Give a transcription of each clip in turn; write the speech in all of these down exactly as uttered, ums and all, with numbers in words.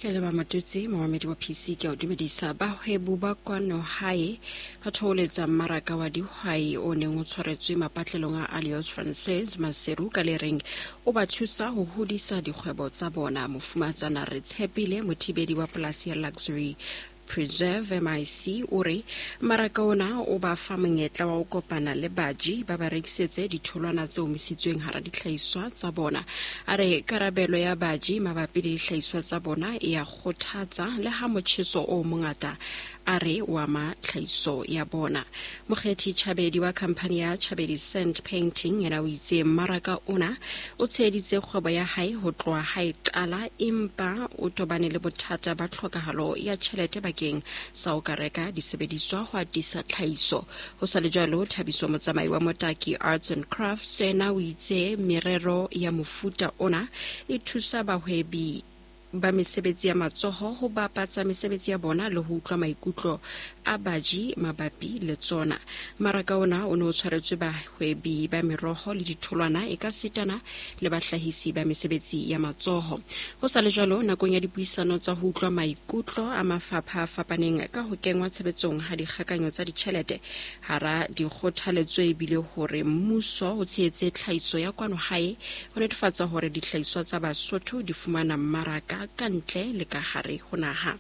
Ke leba Matutsi, momamedi wa P C, ke a o dumedisa. Bahwebu ba kwano hae ba thoholetsa mmaraka wa dihwai o neng o tshwaretswe mapatlelong a Alliance Francaise Maseru ka le reng o ba thusa ho hodisa dikgwebo tsa bona. Mofumatsana Re Tshepile Mothibedi wa polasi ya Luxury Preserve M I C o re mmaraka ona o ba fa monyetla wa ho kopana le baji ba ba rekisetse ditholwana tse omisitsweng hara dihlahiswa tsa bona. A re karabelo ya baji mabapi le dihlahiswa tsa bona e ya kgothatsa le ha motjheso o mongata a re o ama tlhahiso ya bona. Mokgethi Chabedi wa khamphani ya Chabedi Sand Painting yena o itse mmaraka ona o tsheheditse kgwebo ya hae ho tloha ha e qala, empa o tobane le bothata ba tlhokahalo ya tjhelete bakeng sa ho ka reka disebediswa ho atisa tlhahiso. Ho sa le jwalo, Thabiso Motsamai wa Motaki Arts and Crafts yena o itse merero ya mofuta ona e thusa bahwebi ba mesebetsi ya matsoho ho bapatsa mesebetsi ya bona le ho utlwa maikutlo a baji mabapi le tsona. Mmaraka ona o ne o tshwaretswe bahwebi ba meroho le ditholwana e ka sitana le bahlahisi ba mesebetsi ya matsoho. Ho sa le jwalo, nakong ya dipuisano tsa ho utlwa maikutlo a mafapha a fapaneng ka ho kengwa tshebetsong ha dikgakanyo tsa ditjhelete, hara dikgothaletso ebile hore mmuso o tshehetse tlhahiso ya kwano hae ho netefatsa hore dihlahiswa tsa Basotho di fumana mmaraka ka ntle le ka hare ho naha.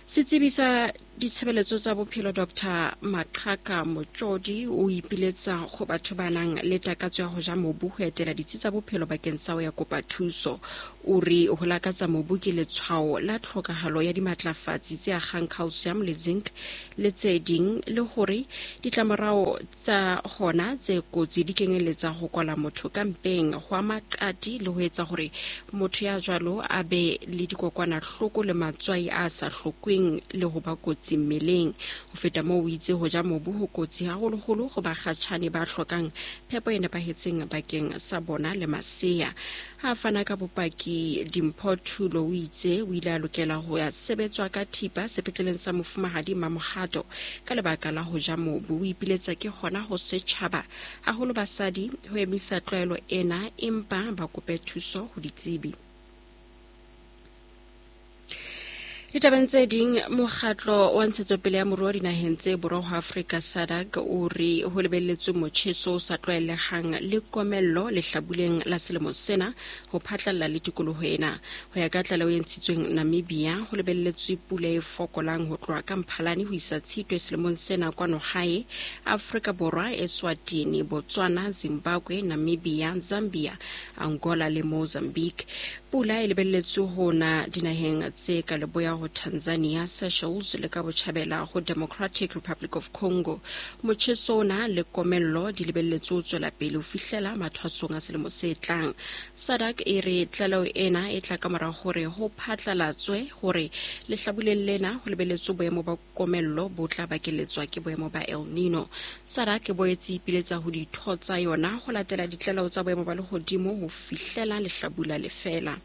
Setsebi sa ditshebeletso tsa bophelo Doctor Maqhaka Motjodi o ipiletsa go batho ba nang le takatso ya ho ja mobu ho etela ditsi tsa bophelo bakeng sa ho ya kopa thuso. O re ho lakatsa mobu ke letshwao la tlhokahalo ya dimatlafatsi tse akgang calcium le zinc le tse ding, le hore ditlamorao tsa hona tse kotsi di kenyeletsa ho kwala motho ka mpeng, ho ama qati le ho etsa hore motho ya jwalo a be le dikokwanahloko le matswai a sa hlokweng le ho ba kotsi mmeleng. Ho feta moo, o itse ho ja mobu ho kotsi haholoholo ho bakgatjhane ba hlokang phepo e nepahetseng bakeng sa bona le masea. Ha a fana ka bopaki, Dimpho Thulo o itse o ile a lokela ho ya sebetswa ka thipa sepetleleng sa Mofumahadi Mamohato ka lebaka la ho ja mobu. O ipiletsa ke hona ho setjhaba, haholo basadi, ho emisa tlwaelo ena empa ba kope thuso ho ditsebi. Ditabeng tse ding, mokgatlo wa ntshetsopele ya moruo dinaheng tse borwa ho Afrika SADC o re ho lebelletswe motjheso o sa tlwaelehang le komello lehlabuleng la selemo sena ho phatlalla le tikoloho ena. Ho ya ka tlaleho e ntshitsweng Namibia, ho lebelletswe pula e fokolang ho tloha ka Mphalane ho isa Tshitwe selemong sena kwano hae Afrika Borwa, Eswatini, Botswana, Zimbabwe, Namibia, Zambia, Angola le Mozambique. Pula e lebelletswe ho na dinaheng tse ka leboya ho Tanzania, Seychelles le ka botjhabela ho Democratic Republic of Congo. Motjheso ona le komello di lebelletswe ho tswela pele ho fihlela mathwasong a selemo se tlang. SADC e re tlaleho ena e tla ka mora hore ho phatlalatswe hore lehlabuleng lena ho lebelletswe boemo ba komello bo tla bakeletswa ke boemo ba El Nino. SADC e boetse ipiletsa ho ditho tsa yona ho latela ditlaleho tsa boemo ba lehodimo ho fihlela lehlabula le fela.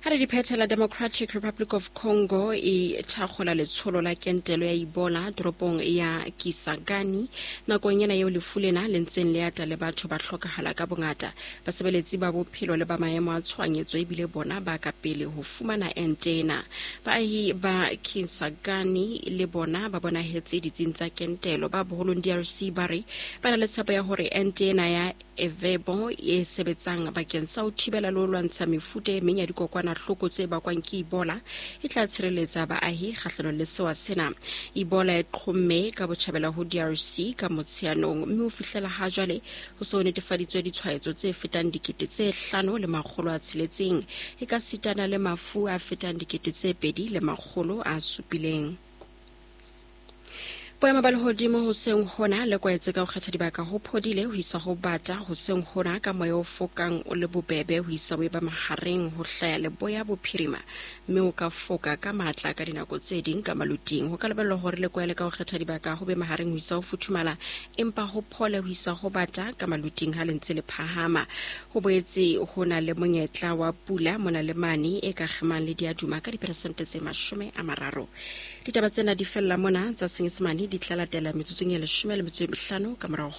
Ha re di phethela, Democratic Republic of Congo e thakgola letsholo la kentelo ya Ebola toropong ya Kisangani nakong ena eo lefu lena le ntseng le ata le batho ba hlokahala ka bongata. Basebeletsi ba bophelo le ba maemo a tshohanyetso ebile bona ba ka pele ho fumana ente ena. Baahi ba Kisangani le bona ba bonahetse ditsing tsa kentelo. Ba boholong D R C ba re ba na le tshepo ya hore ente ena ya Ervebo e sebetsang bakeng sa ho thibela le ho lwantsha mefuta e meng ya dikokwanahloko tse bakwang ke Ebola e tla tshireletsa baahi kgahlanong le sewa sena. Ebola e qhomme ka botjhabela ho D R C ka Motsheanong, mme ho fihlela ha jwale ho se ho netefaditswe ditshwaetso tse fetang dikete tse hlano le makgolo a tsheletseng e ka sitana le mafu a fetang dikete tse pedi le makgolo a supileng. Boemo ba lehodimo hoseng hona le kwaetse ka ho kgetha dibaka ho phodile ho isa ho bata hoseng hona, ka moya o fokang o le bobebe ho isa ho eba mahareng ho hlaya leboya bophirima, mme o ka foka ka matla ka dinako tse ding ka maluting. Ho ka lebellwa hore le kwaele ka ho kgetha dibaka ho be mahareng ho isa ho futhumala, empa ho phole ho isa ho bata ka maluting ha le ntse le phahama. Ho boetse ho na le monyetla wa pula mona le mane e ka kgemang le diaduma ka diperesente tse mashome a mararo. Ditaba tsena di fella mona. Tsa Senyesemane di tla latela metsotsong e leshome le metso e mehlano ka morao.